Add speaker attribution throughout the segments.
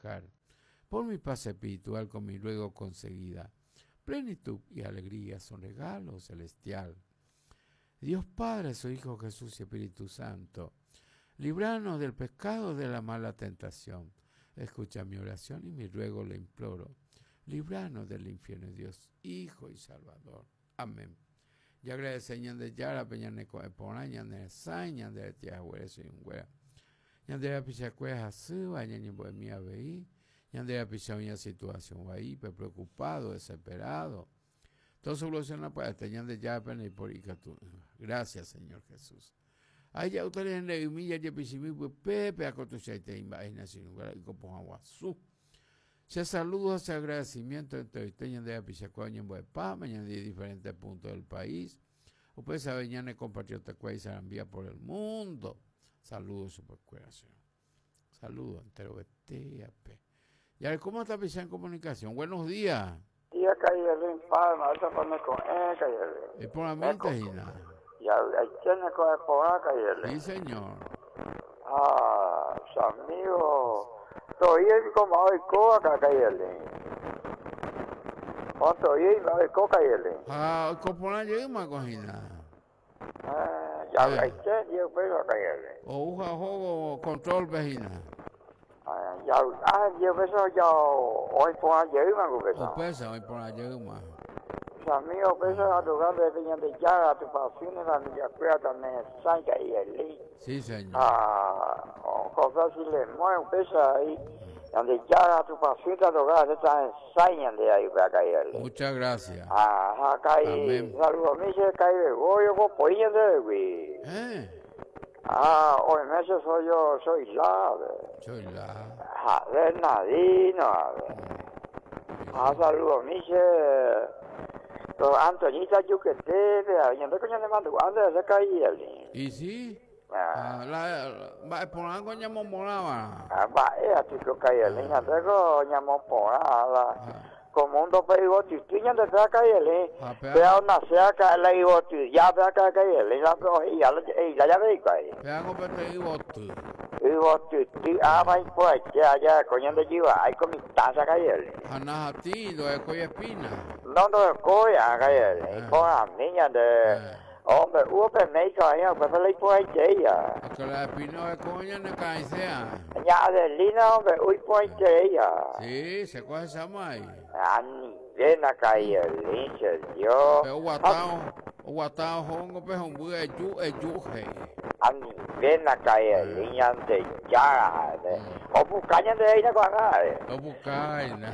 Speaker 1: trabajar por mi paz espiritual con mi ruego conseguida. Plenitud y alegría son regalo celestial. Dios Padre, su Hijo Jesús y Espíritu Santo, libranos del pecado de la mala tentación. Escucha mi oración y mi ruego le imploro. Libranos del infierno, Dios, Hijo y Salvador. Amén. Jagradece Ñandejárape ñane ko'ẽ porã, ñane resãi, ñande rete haguére sỹinguéra. Ñande rapichakuéra hasýva ñañembo'emi avei, ñande rapicha oĩva situación vaípe, preocupado, desesperado. Todo soluciona pya'ete Ñandejárape ndaipóri ikatu'ỹva. Gracias, Señor Jesús. Aheja'úta rende'ymi jajepichimi pype, ako tuichaitei mba'e hína che irũnguéra yko pohã guasu. Che saludo ha che agradecimiento enteroite ñande rapichakuéra oñembo'epáma ñande diferentes puntos del país. Upéicha avei ñane compatriotakuéra isarambía por el mundo. Saludo chupekuéra, che. Saludo enterovetéape. Jarekóma tapicha en comunicación. Buenos días.
Speaker 2: Día calle Palma, esa pa' ko'ẽ calle.
Speaker 1: Iporãmínte hína.
Speaker 2: Ya tiene ko'ẽ porã calle.
Speaker 1: Sí, señor.
Speaker 2: Ah, su amigo. Todavía como hoy coca calle. O todavía hoy coca calle.
Speaker 1: Ah, oiko porã jeýma ko hína.
Speaker 2: Ah, ya hay yo pero calle.
Speaker 1: Ou ha ohóvo control-pe hína.
Speaker 2: Ah, ya ah, yo peso ya hoy porã jeýma ko pesa.
Speaker 1: Upéicha oĩ porã jeýma.
Speaker 2: Su amigo peso a lugar de Peñandejára, tu pasión familia cueva también sanca y el
Speaker 1: Sí, señor.
Speaker 2: Ah, José si le mueve pesa ahí, donde ya tu pasión te lugar está en sañan de ahí para caer.
Speaker 1: Muchas gracias.
Speaker 2: Ajá, caí, saludos a mí se cae de goyo, copoña de güey.
Speaker 1: ¿Eh?
Speaker 2: Ah, hoy meses soy yo, soy la.
Speaker 1: Soy la.
Speaker 2: Ah, Bernardino. Ah, saludos a mí se Antoñita Yuquete, ñande coño le mando, ande se caía.
Speaker 1: ¿Y sí? Ah, la mba'e porã ko ñamomorãva.
Speaker 2: Ah, mba'e atiko kaiele, ñande ko ñamoporã la como mundo pe igotyty ñande pe kaiele. Pe nace acá la igoty, ya pe acá kaiele, la pe ya la ya ya ve kai.
Speaker 1: Pe hago pe igoty.
Speaker 2: Igotyty ah vai pues ya ya coño de jiva, hay con mi taza kaiele.
Speaker 1: Anahati, do ekoi espina.
Speaker 2: No no koi a kaiele, con a niña de Hombre, hubo pe México ahí, pues le por ahí ya.
Speaker 1: Que la espina de coña no cae sea.
Speaker 2: Ya Adelina, hombre, uy por ahí ya.
Speaker 1: Sí, se coge esa mai.
Speaker 2: Ah, ni ven acá y el linche, Dios.
Speaker 1: Pero guatao, guatao, hongo, pe hombu, eyu, eyu, hey.
Speaker 2: Ah, ni ven acá y el linche de ya. O bucaña de ahí, no acá.
Speaker 1: O bucaña.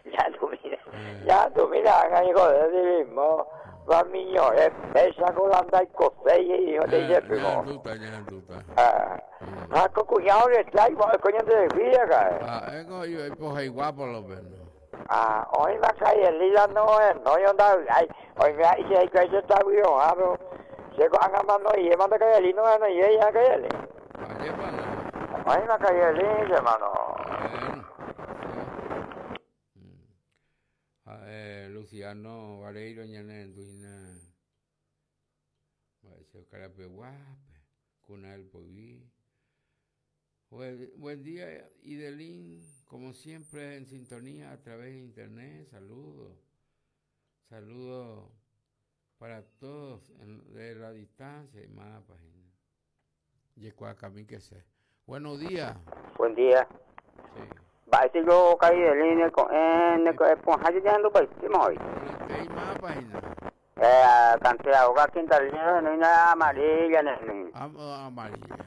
Speaker 2: Ya tú mira, ya tú mira, hijo de mismo. Va niño, es pesa con la anda y cosella y hijo de ese primo.
Speaker 1: Ah,
Speaker 2: ah, con cuñado le traigo, coño de vida, cae.
Speaker 1: Ah, eso yo pues igual por lo menos.
Speaker 2: Ah, hoy va a caer lila no es, no yo anda, ay, hoy me dice ay, que eso está bien, ah, pero se con mando y manda caer no no y ella caer. Hoy va a caer lila, hermano.
Speaker 1: Luciano Vareiro ñane nduina mba'éicha Karapeguápe Cuna del Poyvi. Buen día, Idelín, como siempre en sintonía a través de internet. Saludos, saludos para todos de la distancia y más página. Yecuacamí que sé. Buenos días.
Speaker 2: Buen día.
Speaker 1: Sí.
Speaker 2: Va, si yo caí de línea con N, con Hayo ya ando pues, ¿qué me voy?
Speaker 1: ¿Qué más página?
Speaker 2: Cantidad, hogar, quinta línea, no hay nada amarilla, ni.
Speaker 1: Amarilla.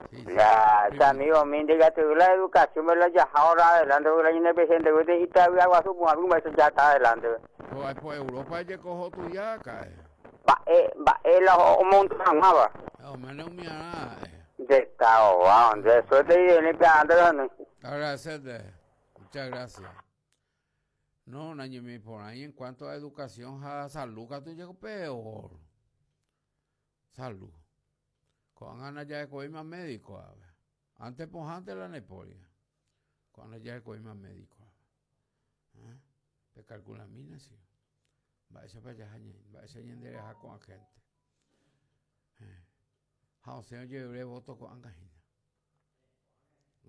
Speaker 1: Sí, sí.
Speaker 2: Ya, ese amigo mío, diga, te la educación, me la ya ahora adelante, la llena presidente, güey, y te había agua, supongo, algún beso ya está adelante.
Speaker 1: Pues, pues Europa ya cojo tu ya, cae.
Speaker 2: Va, va, la o montón, va.
Speaker 1: No, menos mi nada.
Speaker 2: De esta, va, de suerte y de limpiando, no.
Speaker 1: Agradecerte. Muchas gracias. No, naño, mi por ahí en cuanto a educación, a salud, que tú llego peor. Salud. Con ganas ya de coger más médico, a ver. Antes, pues antes la neporia. Con ganas ya de coger más médico, a ver. ¿Eh? Pe calcula mina, sí. Va a para allá, va a ser con la gente. Ja, o sea, yo voto con angajina.